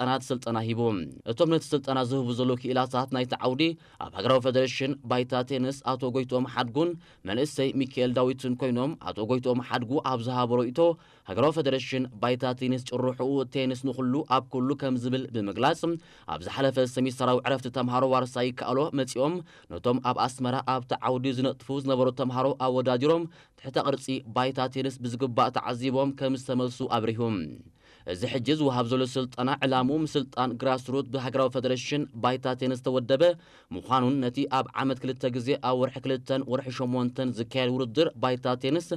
ህጻናት ስልጠና ሂቡ። እቶም ነቲ ስልጠና ዝህቡ ዘለዉ ክኢላታት ናይቲ ዓውዲ ኣብ ሃገራዊ ፌደሬሽን ባይታ ቴንስ ኣቶ ጎይትኦም ሓድጉን መንእሰይ ሚካኤል ዳዊትን ኮይኖም፣ ኣቶ ጎይትኦም ሓድጉ ኣብ ዝሃቦ ርእይቶ፣ ሃገራዊ ፌደሬሽን ባይታ ቴንስ ጭርሕኡ ቴንስ ንኹሉ ኣብ ኩሉ ከም ዝብል ብምግላጽ፣ ኣብ ዝሓለፈ ሰሚስተራዊ ዕረፍቲ ተምሃሮ ዋርሳይ ይከኣሎ መጺኦም ነቶም ኣብ ኣስመራ ኣብቲ ዓውዲ ዝነጥፉ ዝነበሩ ተምሃሮ ኣወዳዲሮም ትሕተ ቅርጺ ባይታ ቴንስ ብዝግባእ ተዓዚቦም ከም ዝተመልሱ ኣብሪሁ። እዚ ሕጂ ዝወሃብ ዘሎ ስልጠና ዕላምኡ ምስልጣን ግራስሩት ብሃገራዊ ፌደሬሽን ባይታ ቴንስ ዝተወደበ ምዃኑን ነቲ ኣብ ዓመት ክልተ ግዜ ኣብ ወርሒ ክልተን ወርሒ ሸሞንተን ዝካየድ ውድድር ባይታ ቴንስ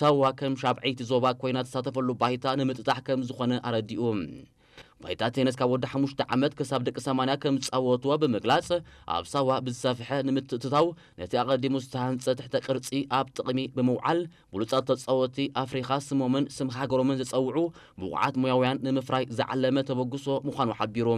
ሳዋ ከም ሻብዐይቲ ዞባ ኮይና ትሳተፈሉ ባይታ ንምጥጣሕ ከም ዝኾነ ኣረዲኡ። ባይታ ቴንስ ካብ ወዲ ሓሙሽተ ዓመት ክሳብ ደቂ ሰማንያ ከም ዝጻወትዎ ብምግላጽ፣ ኣብ ሳዋ ብዝሰፍሐ ንምትእትታው ነቲ ኣቐዲሙ ዝተሃንጸ ትሕተ ቅርጺ ኣብ ጥቕሚ ብምውዓል ብሉጻት ተጻወትቲ ኣፍሪኻ ስሞምን ስም ሃገሮምን ዘጸውዑ ብቑዓት ሞያውያን ንምፍራይ ዝዓለመ ተበግሶ ምዃኑ ሓቢሩ።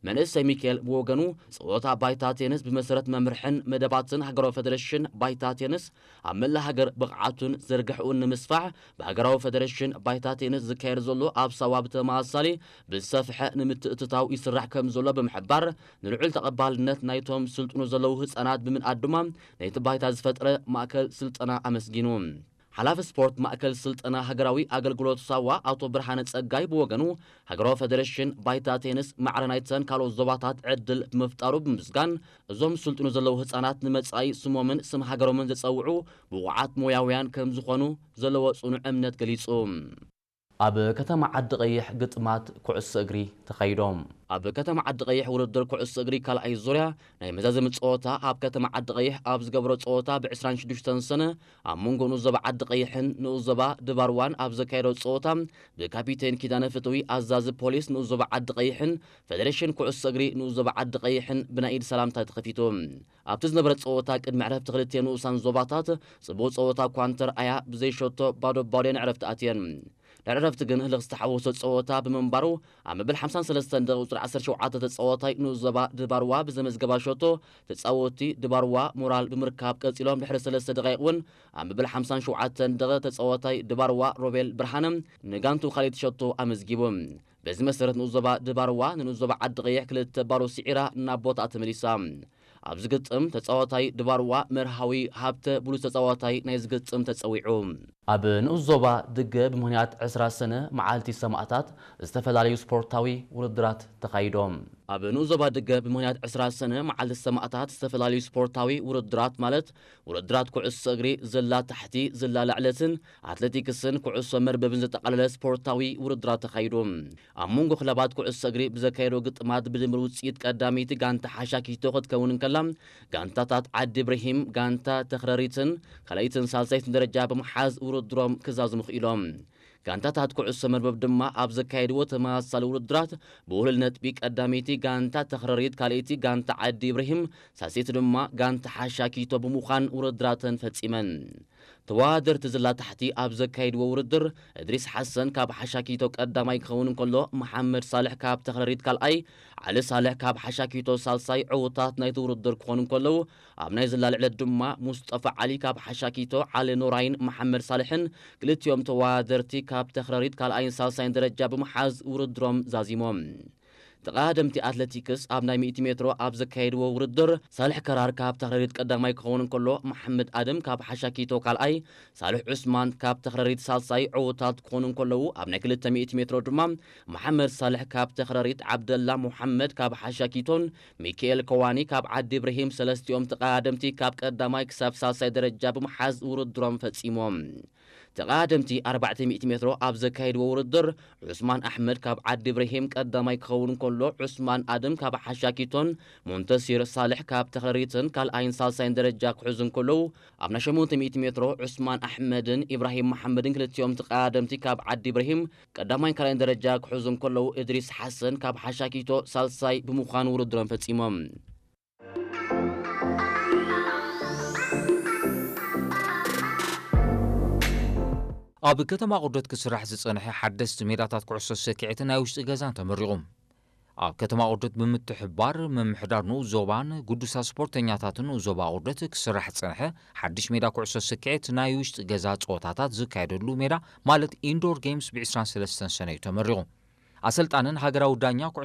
መንእሰይ ሚካኤል ብወገኑ፣ ጸወታ ባይታ ቴንስ ብመሰረት መምርሕን መደባትን ሃገራዊ ፌደሬሽን ባይታ ቴንስ ኣብ መላእ ሃገር ብቕዓቱን ዝርግሕኡን ንምስፋሕ ብሃገራዊ ፌደሬሽን ባይታ ቴንስ ዝካየድ ዘሎ ኣብ ሳዋ ብተመሳሳሊ ብዝሰፍሐ ንምትእትታው ይስራሕ ከም ዘሎ ብምሕባር፣ ንልዑል ተቐባልነት ናይቶም ስልጥኑ ዘለዉ ህጻናት ብምንኣድ ድማ ነቲ ባይታ ዝፈጥረ ማእከል ስልጠና ኣመስጊኑ። ሓላፊ ስፖርት ማእከል ስልጠና ሃገራዊ ኣገልግሎት ሳዋ ኣቶ ብርሃነ ጸጋይ ብወገኑ፣ ሃገራዊ ፌደሬሽን ባይታ ቴንስ ማዕረ ናይተን ካልኦት ዞባታት ዕድል ብምፍጣሩ ብምስጋን፣ እዞም ስልጥኑ ዘለዉ ህጻናት ንመጻኢ ስሞምን ስም ሃገሮምን ዘጸውዑ ብቑዓት ሞያውያን ከም ዝኾኑ ዘለዎ ጽኑዕ እምነት ገሊጹ። ኣብ ከተማ ዓዲ ቀይሕ ግጥማት ኩዕሶ እግሪ ተኻይዶም። ኣብ ከተማ ዓዲ ቀይሕ ውድድር ኩዕሶ እግሪ ካልኣይ ዙርያ ናይ መዛዘሚ ጸወታ ኣብ ከተማ ዓዲ ቀይሕ ኣብ ዝገብሮ ጸወታ ብ ዕስራን ሽዱሽተን ሰነ ኣብ መንጎ ንኡስ ዞባ ዓዲ ቀይሕን ንኡስ ዞባ ድባርዋን ኣብ ዘካየዶ ጸወታ ብካፒቴን ኪዳነ ፍትዊ ኣዛዚ ፖሊስ ንኡስ ዞባ ዓዲ ቀይሕን ፌደሬሽን ኩዕሶ እግሪ ንኡስ ዞባ ዓዲ ቀይሕን ብናይ ኢድ ሰላምታ ተኸፊቱ። ኣብቲ ዝነበረ ጸወታ ቅድሚ ዕረፍቲ ክልተ ንኡሳን ዞባታት ጽቡቕ ጸወታ እኳ እንተርኣያ ብዘይሸቶ ባዶ ባዶ እየን ዕረፍቲ ኣትየን። ድሕሪ ዕረፍቲ ግን ህልኽ ዝተሓወሶ ጸወታ ብምንባሩ ኣብ መበል ሓምሳን ሰለስተን ደቂ ቁጽሪ ዓሰርተ ሸውዓተ ተጻዋታይ ንኡስ ዞባ ድባርዋ ብዘመዝገባ ሸቶ ተጻወትቲ ድባርዋ ሞራል ብምርካብ ቀጺሎም ድሕሪ ሰለስተ ደቃይቕ እውን ኣብ መበል ሓምሳን ሸውዓተን ደቂ ተጻዋታይ ድባርዋ ሮቤል ብርሃነ ንጋንቱ ካልኣይቲ ሸቶ ኣመዝጊቡ። በዚ መሰረት ንኡስ ዞባ ድባርዋ ንንኡስ ዞባ ዓዲ ቀይሕ ክልተ ባዶ ስዒራ ናብ ቦታኣ ተመሊሳ። ኣብዚ ግጥም ተጻዋታይ ድባርዋ መርሃዊ ሃብተ ብሉጽ ተጻዋታይ ናይ ዝግጥም ተጸዊዑ። ኣብ ንኡስ ዞባ ድገ ብምኽንያት ዕስራ ሰነ መዓልቲ ሰማእታት ዝተፈላለዩ ስፖርታዊ ውድድራት ተኻይዶም። ኣብ ንኡስ ዞባ ድገ ብምኽንያት ዕስራ ሰነ መዓልቲ ሰማእታት ዝተፈላለዩ ስፖርታዊ ውድድራት ማለት ውድድራት ኩዕሶ እግሪ፣ ዝላ ታሕቲ፣ ዝላ ላዕለትን ኣትሌቲክስን ኩዕሶ መርበብን ዘጠቓለለ ስፖርታዊ ውድድራት ተኻይዱ። ኣብ መንጎ ክለባት ኩዕሶ እግሪ ብዘካየዶ ግጥማት ብድምር ውጽኢት ቀዳመይቲ ጋንታ ሓሻኪቶ ክትከውን እንከላ፣ ጋንታታት ዓዲ ኢብራሂም ጋንታ ተኽረሪትን ካልኣይትን ሳልሳይትን ደረጃ ብምሓዝ ውድድሮም ክዛዝሙ ክኢሎም። ጋንታታት ኩዕሶ መርበብ ድማ ኣብ ዘካየድዎ ተመሳሳሊ ውድድራት ብውህሉል ነጥቢ ቀዳመይቲ ጋንታ ተኽረሪት፣ ካልኣይቲ ጋንታ ዓዲ ኢብራሂም፣ ሳልሰይቲ ድማ ጋንታ ሓሻኪቶ ብምዃን ውድድራተን ፈጺመን። ተወዳደርቲ ዝላ ታሕቲ ኣብ ዘካየድዎ ውድድር፣ እድሪስ ሓሰን ካብ ሓሻኪቶ ቀዳማይ ክኸውን እንከሎ፣ መሓመድ ሳልሕ ካብ ተኽረሪት ካልኣይ፣ ዓሊ ሳልሕ ካብ ሓሻኪቶ ሳልሳይ ዕዉታት ናይቲ ውድድር ክኾኑ እንከለዉ፣ ኣብ ናይ ዝላ ልዕለት ድማ ሙስጠፋ ዓሊ ካብ ሓሻኪቶ፣ ዓሊ ኖራይን መሓመድ ሳልሕን ክልቲኦም ተወዳደርቲ ካብ ተኽረሪት ካልኣይን ሳልሳይን ደረጃ ብምሓዝ ውድድሮም ዛዚሞም። ተቐዳደምቲ ኣትሌቲክስ ኣብ ናይ ሚእቲ ሜትሮ ኣብ ዘካየድዎ ውድድር፣ ሳልሕ ከራር ካብ ተኽረሪት ቀዳማይ ክኸውን እንከሎ፣ መሓመድ ኣደም ካብ ሓሻኪቶ ካልኣይ፣ ሳልሕ ዑስማን ካብ ተኽረሪት ሳልሳይ ዕዉታት ክኾኑ እንከለዉ፣ ኣብ ናይ ክልተ ሚእቲ ሜትሮ ድማ መሓመድ ሳልሕ ካብ ተኽረሪት፣ ዓብደላ ሙሓመድ ካብ ሓሻኪቶን ሚካኤል ከዋኒ ካብ ዓዲ ኢብራሂም ሰለስቲኦም ተቐዳደምቲ ካብ ቀዳማይ ክሳብ ሳልሳይ ደረጃ ብምሓዝ ውድድሮም ፈጺሞም። ተቐዳደምቲ ኣርባዕተ ሚእቲ ሜትሮ ኣብ ዘካየድዎ ውድድር፣ ዑስማን ኣሕመድ ካብ ዓዲ ኢብራሂም ቀዳማይ ክኸውን እንከሎ፣ ዑስማን ኣደም ካብ ሓሻኪቶን ሞንተሲር ሳልሕ ካብ ተኽረሪትን ካልኣይን ሳልሳይን ደረጃ ክሕዙ እንከለዉ፣ ኣብ ናይ ሸሞንተ ሚእቲ ሜትሮ ዑስማን ኣሕመድን ኢብራሂም መሓመድን ክልቲኦም ተቐዳደምቲ ካብ ዓዲ ኢብራሂም ቀዳማይን ካልኣይን ደረጃ ክሕዙ እንከለዉ፣ እድሪስ ሓሰን ካብ ሓሻኪቶ ሳልሳይ ብምዃን ውድድሮም ፈጺሞም። ኣብ ከተማ ቁርደት ክስራሕ ዝጸንሐ ሓደስቲ ሜዳታት ኩዕሶ ሰኪዔት ናይ ውሽጢ ገዛን ተመሪቑ። ኣብ ከተማ ቁርደት ብምትሕብባር ምምሕዳር ንኡስ ዞባን ግዱሳት ስፖርተኛታትን ንኡስ ዞባ ቁርደት ክስራሕ ዝጸንሐ ሓድሽ ሜዳ ኩዕሶ ሰኪዔት ናይ ውሽጢ ገዛ ጸወታታት ዝካየደሉ ሜዳ ማለት ኢንዶር ጌምስ ብ ዕስራን ሰለስተን ሰነ እዩ ተመሪቑ። ኣሰልጣንን ሃገራዊ ዳኛ